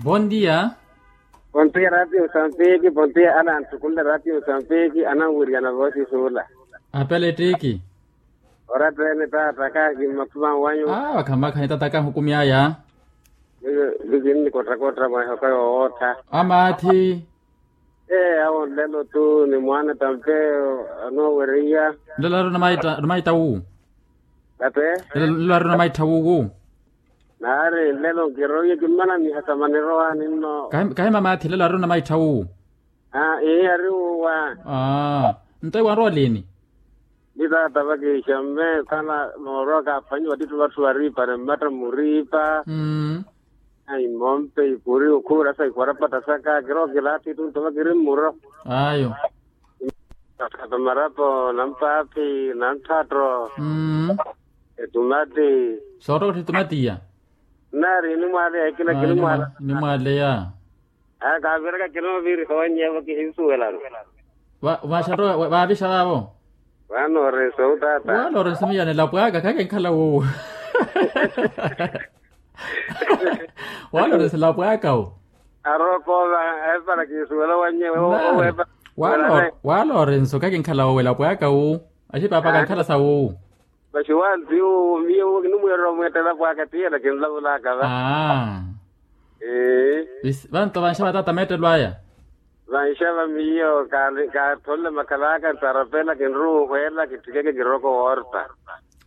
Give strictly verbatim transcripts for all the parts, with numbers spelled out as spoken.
Bondia. Bondia ratio sampiiki bondia ana anthukunle ratio sampiiki ana wiriana vosi sula. Apele tiki. Ora tene tata kahi mapuma wanyu. Awa khamakha ni tata kahukumyaya. Liki nni kotta kotta mwahoka yowotta. Amathi. Ee awo nlelo tu ni mwana tampe. Anowereiya. Nlelo ari namaita wu. Tate. Nlelo ari namaita wu. Naari nlelo nkiroiye kimmana mihasama nirowa ninno. Kahi mamathi nlelo ari namaita wu. Aa ihi ari wuwa. Aa. Nto iwanrowa lini? Ni tata vakiixa mme kana noorowa kaaphwanyiwa ttitthu vatthu varipane mmatta muripa. Ayi mompe ikuri okhuvirasa ikwarapata saka kirowa kilaatthi tunto vakiri mmuro. Ayo. Marapo nampaaphi nanthatto. Etumati. Soottokottha etumati iya. Nnaari inimwaaleya ekina kinimwaala. Nimwaaleya. Aa kaaviraka kinooviriha wanyeevo kihinsuwelano. Vaxanto vaavixa vaavo. Vanorense owu tata. Vanorense miyo anelapo aka khakenkhala wowo. Waloresela pwaaka wo. Arooko ova epala kiisuwela wanye. Walorense okakinkhala wowela pwaaka wo. Axipaapa kankhala sa wo. Maxi wanti wo miyo wo kinimweerela omweettela pwaaka tiyela kinlavulaka va. Vanto vanxa vataata meettelo aya. Vanxa va miyo kaattholle makhalaka ntarapela kinruuhweela kitthikeke kirooko woorta.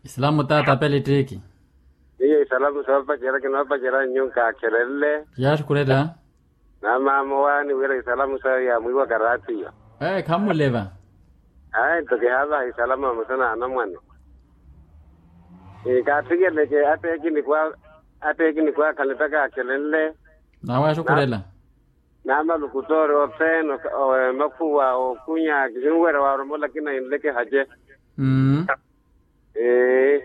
Islamu taata apele ttiiki. Miyo isalamu soopacerya kinoopacerya nyu nkaakhelenle. Yaaxukhurela. Naamaama owaani wira isalamu sawe yaamwiiwaka raatiyo. Ee khammuleva. Ayi nto kihaavaha isalamu vamosa n'anamwane. Kaattikeleke atteekiniku aakhala ettaka aakhelenle. Nawe axukhurela. Naamalukutoori othene emakhuwa ookunya kihinwerya waaromola kinahinleke hace. Mmm. Ee.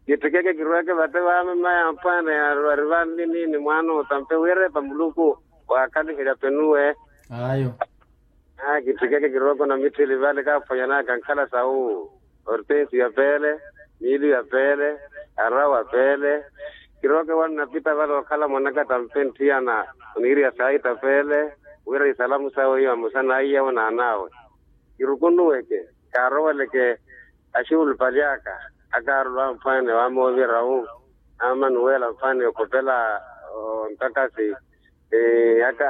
Kittikeke kirweke vate vaamemaya mpwaana yaaru ari vanlini ni mwaana otampe wira epa muluku waakhaliherya penuwe. Ayo. Kittikeke kirweke onamitthili vale kaaphwanyanaka nkhala sawu. Ortensi ya peele, miili ya peele, arawa peele. Kirooke wannapitta vale okhala mwanaka tampe nthiyana oniiriya saita peele wira isalamu sawe iyo amosa n'aiyawe n'an'awe. Kirukunuweke kaaroweleke axuulupali aka. Akaarulu amphwaane waamoovira wu amanuwela mphwaane okhopela ontakasi. Aka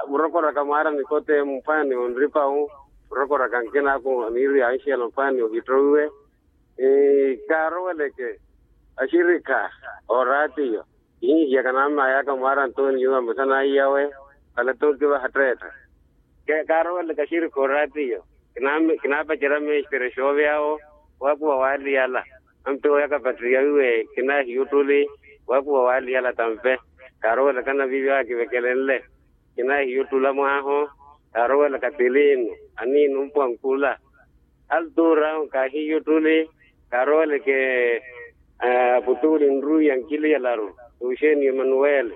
murokoraka mwaara nikote mphwaane onripa wu murokoraka nkinaku aniiriya anxela mphwaane ohittowiwe. Kaaroweleke axirikha ooraatiyo kihinhiyaka naammayaka mwaara antoniyu amosa n'aiyawe. Khala tookivaha tteetta. Kaaroweleke axirikha ooraatiyo kinaapacerya meestere xoovy'awo waakuva waaliyala. Ampe oyaka patriya wiwe kinaahiya ottuli waakuva waaliyala tampe. Kaaroweleke anaviivi awo akivekelenle kinaahiya ottula mwaaho. Kaaroweleke atilinu aniinu mpuwa nkula. Altura awo kaahiya ottuli. Kaaroweleke aputuuli nruwi ya nkiliyalaru tuuxeni emanuwele.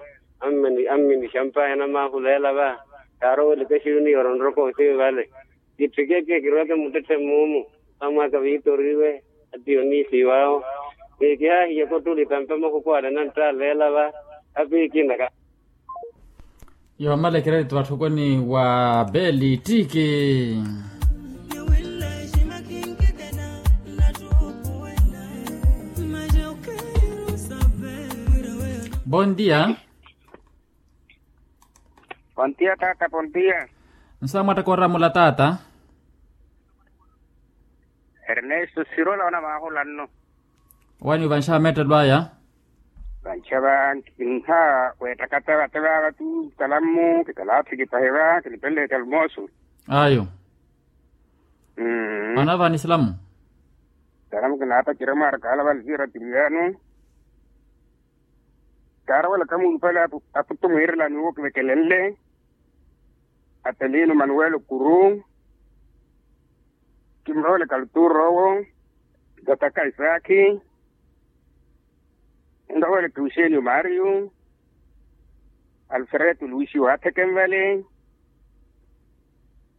Ammini xampaya namaahuleela va. Kaaroweleke axiyuni yooronroka othimi vale. Kittikeke kirweke muttetthe muumu. Amwaka viitoriwe atiyo niisiiw'awo. Kihaahiyaka ottuli tampe mahuku ale nanttaaleela va. Apiikinaka. Yoomalekerya tthu vatthukwani wa beli tiki. Bondia. Pontiya taata pontiya. Nsa mwattaka oramula taata. Ernesto sirola onamaahulanno. Wani vanxa meettelo aya. Vanxa va nkinha weettaka teva teva vatu talammu kitalaathi kipahe va kinipenle talmosu. Ayo. Mmm. Anava ni silamu. Silamu kinaapacira mwaara kaala vali siira tiliyaanu. Kaarowela kamuulupale aputu mwiirelani owo kivekelenle. Apeliinu manuwelo kuru. Kimurowele kaluturo owo. Tataka isaakhi. Nrowele tuuxenio mario. Alfredo luisio atheke nvale.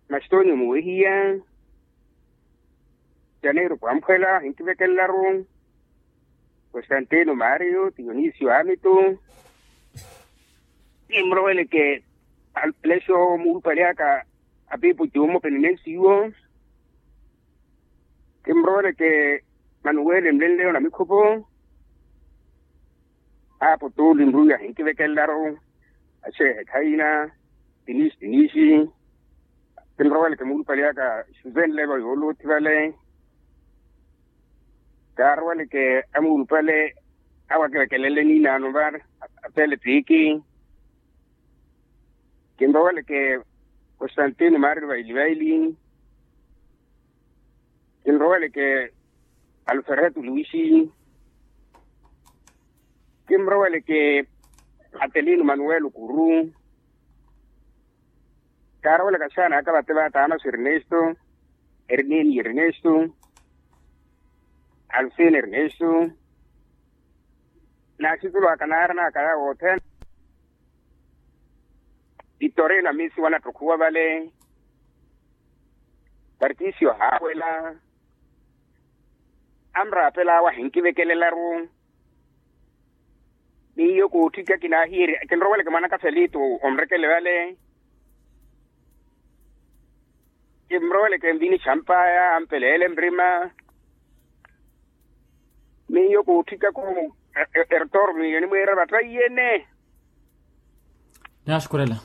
Mastonio muwehiya. Janeiro pwamphwela ahinkivekenlaru. Constantino mario dionisio amitu. Kimuroweleke alupelexe owo muulupale aka apiipo cuumo penenensiwo. Kimuroweleke manuwele mlenleyo na mikhupo. Aapo tuuli nruwi ahinkivekelelaru. Axeehe khaina tinixi tinixi. Kimuroweleke muulupale aka xuzenlevo yooluthi vale. Kaaroweleke amuulupale awo akivekelele niinaano vale. Apele piiki. Kinroweleke constantino maariri vaili vaili. Kinroweleke alfereto luisi. Kinroweleke atelino manuel kuru. Kaaroweleke axaana aka vate va taanaso ernesto, erneni ernesto, alfin ernesto. N'axitulu aka naaranaka yawo othene. Victorino amisi wanattokhuwa vale. Tarcisio haawela. Anraapel'awe ahinkivekelelaru. Miyo kootthika kinaahiiri kinroweleke mwanaka felito onrekele vale. Kimuroweleke nvini xampaya ampeleele nrima. Miyo kootthikaku ertormiyo nimwiira vattaiyene. Naaxukurela.